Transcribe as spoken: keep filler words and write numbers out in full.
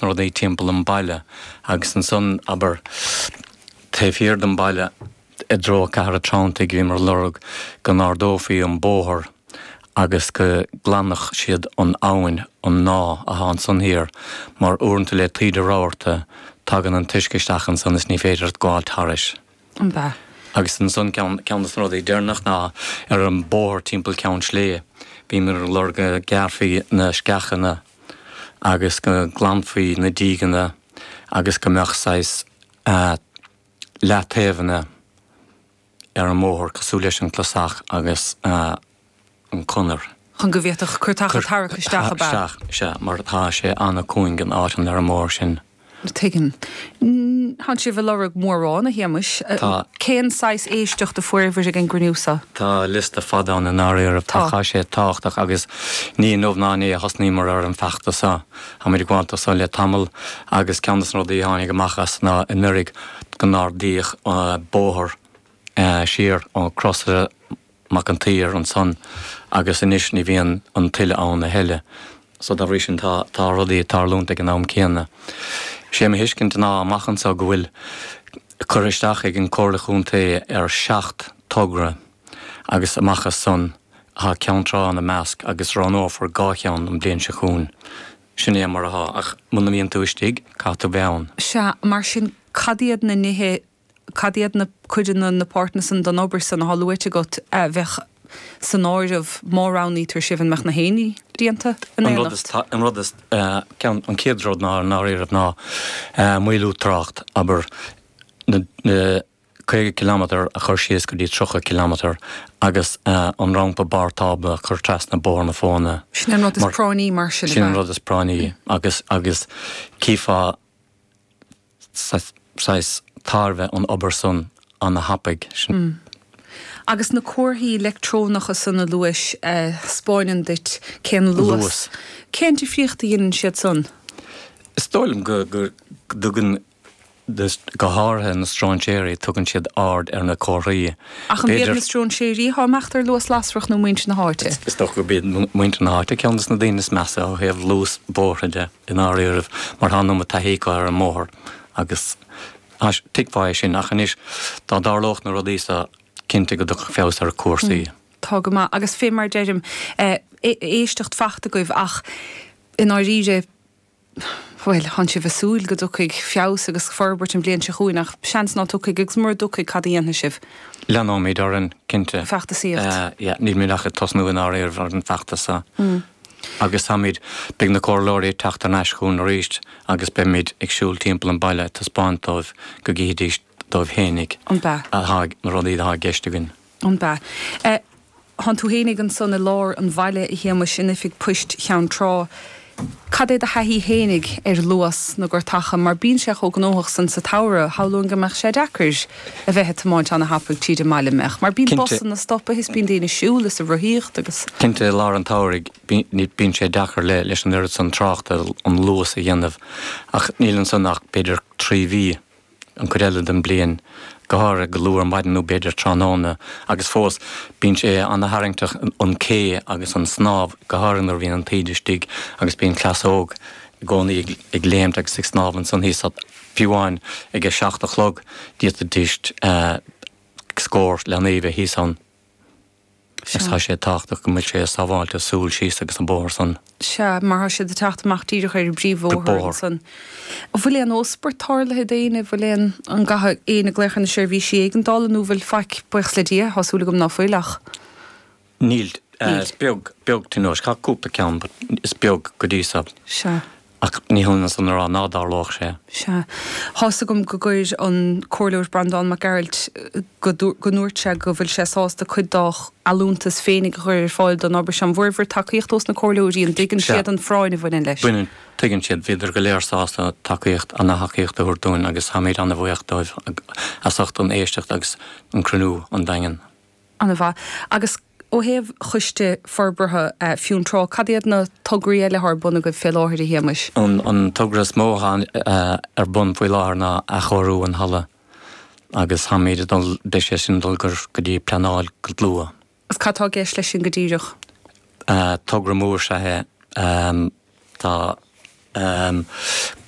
na rudaí timpeall an baile agus ansan, abair, taobh thiar den baile i dtreo Cathair an Treanntaigh, bhíomar ag lorg go n-ardófaí an bóthar agus go nglanfadh siad an abhainn, an Ná, atá ansan thiar, mar uaireanta le taoide rabharta tagann an t-uisce isteach ansan is ní féidir gabháil thairis. An b'ea? Agus ansan ceann de na rudaí deireanach ná ar an bóthar timpeall Ceann Sléibhe, bhíomar ag lorg go ngearrfaí na sceachanna agus go nglanfaí na dígeanna agus go mbeadh saghas leataobhanna ar an mbóthar cosúil leis an clasach agus an conair. Chun go bhféadfadh cuairteacha tarrac isteach, ab ea? Isteach, sea, mar tá sé an-cúing an áit an ar an mbóthar sin. Tuigim. Tánn sibh ag lorg mórán, a Shéamais. Tá. Cén saghas éisteachta a fuaireabhair ag an gcruinniú seo? Tá liosta fada ann i ndáiríre. Tá. Tá sé tábhachtach agus ní inniu ná inné a thosnaíomar ar an bhfeachtas seo. Táimid ag gabháil dó seo le tamall agus ceann de na rudaí a tháinig amach as ná anuraidh go n-ardaíodh bóthar siar ó Crosaire Mac an tSaoir ansan agus anois ní bhíonn an tuile ann a thuilleadh. So dá bhrí sin tá tá rudaí ag tarlúint ag an am céanna. Sé mo thuiscint ná amach anso go bhfuil curtha isteach ag an Comhairle Chontae ar seacht togra agus amach as san tá Ceann Trá ina measc agus roghnófar dhá cheann an bhliain seo chugainn. Sin é mar atá ach muna mbíonn tú istigh caithfidh tú bheith ann. Sea, mar sin cad iad na nithe Cad iad na codanna, na páirteanna san den obair san atá luaite agat a bheadh san áireamh má roghnaítear sibh? An mbeadh na haonaigh déanta in An rud is, éineacht? an rud is, ceann, an chéad rud ná i ndáiríribh ná maolú trácht, abair, na, na caoga kilometre a chur síos go dtí tríocha kilometre agus an rampa barr tábla a chur trasna Bóthar na Fóna. Sin an rud is Mar, práinní mar sin, ab sin an ea? rud is práinní agus, agus chífeá, saghas tairbhe an obair san ana-thapaidh. Sin. Agus na comharthaí leictreonacha san a luais a 'spáineann duit cén luas, Luas. cén difríocht a dheineann siad san? Is dóigh liom go dtugann, go háirithe na stróinséirí, tugann siad aird ar na comharthaí. Ach an b'iad B'fhéidir. na stróinséirí atá ag imeacht ar luas lasrach nó muintir na háite? Is dócha gurb iad muintir na háite ceann de na daoine is measa ó thaobh luas bóithre de, i ndáiríribh, mar tá an iomad taithí acu ar an mbóthar agus tuigfeá é sin. Ach anois, dá dtarlódh na rudaí so, cinnte go dtiocfadh feabhas ar chúrsaí. Tá go maith. Agus fé mar deirim, éisteacht fachta agaibh ach i ndáiríre, bhuel, thánn sibh ag súil go dtiocfaidh feabhas agus forbairt an bhliain seo chugainn ach seans ná tiocfaidh agus mura dtiocfaidh, cad a dhéanfaidh sibh? Leanóimid orainn, cinnte. Feachtasaíocht. Yeah, nílimid ach ag tosnú i ndáiríre ar an bhfeachtas seo. Agus táimid, beidh na comhairleoirí ag teacht thar n-ais chugainn arís agus beimid ag siúl timpeall an bhaile ag taispeáint dóibh go gcífidís dóibh fhéinig An b'ea? atá, na rudaí atá i gceist againn. An b'ea? Thánn tú fhéinig ansan i lár an bhaile, a Shéamais, in oifig poist Cheann Trá. Cad é do thaithí fhéinig ar luas na gcuairteacha, mar bíonn sé chomh gnóthach san sa tsamhradh, shamhlóinn go mbeadh sé deacair a bheith ag tiomáint ana-thapaidh tríd an mbaile, an mbeadh? Mar bíonn Cinnte. busanna ag stopadh is bíonn daoine ag siúl is ag rothaíocht agus. Cinnte, i lár an tsamhraidh bíonn sé deacair le leis an oiread san tráchta an luas a dhéanamh ach níl ansan ach b'fhéidir trí mhí. an chuid eile den bhliain, go háirithe go luath ar maidin nó b'fhéidir tráthnóna, agus fós bíonn sé ana-tharraingteach an cé agus an snámh, go háirithe nuair a bhíonn an taoide istigh agus bíonn cleas óg i gcónaí ag léimt agus ag snámh ansan thíos, fiú amháin ag a seacht a chlog d'fhéadfaidís scór leanaí a bheith thíos ann. Agus tá sé tábhachtach go bhfuil sé sábháilte siúl síos agus an bóthar san. Sea, mar tá siad ag teacht amach díreach ar an bpríomhbhóthar ansan. An bhfuil aon óspairt tarlaithe d'éinne? Bhfuil aon, an gcaithfidh éinne glaoch ar na seirbhísí éigeandála nó bhfuil faic, buíochas le Dia, tá súil agam ná fuil ach. Níl. Níl. Is beag, beag tionóisc. Tá cúpla ceann but is beag go dtí so. Sea. Ach ní hionann san a rá ná dtarlódh sé. Sea. Tá's agam go gcuir an Comhairleoir Breandán Mac Gearailt, go ndúirt sé go bhfuil sé sásta cuid dá allúntas féinig a chur ar fáil don obair seo. An bhfuair bhur tacaíocht ós na Comhairleoirí? An dtuigeann Sea. siad an phráinn a bhaineann leis? Baineann. Tuigeann siad. Bhíodar go léir sásta tacaíocht, ana-thacaíocht a thabhairt dúinn agus táimid ana-bhuíoch dóibh as ucht an éisteacht agus an cruinniú an Daingean. Ana-mhaith. Agus ó thaobh Choiste Forbartha Fionntrá, cad iad na tograí eile atá ar bun agaibh fé láthair, a Shéamais? An togra is mó atá ar bun faoi láthair ná athchóiriú an halla agus táimid ag dul, beidh sé sin ag dul go dtí pleanáil go luath. Agus cad tá i gceist leis sin go díreach? Togra mór is ea é. Tá. um, go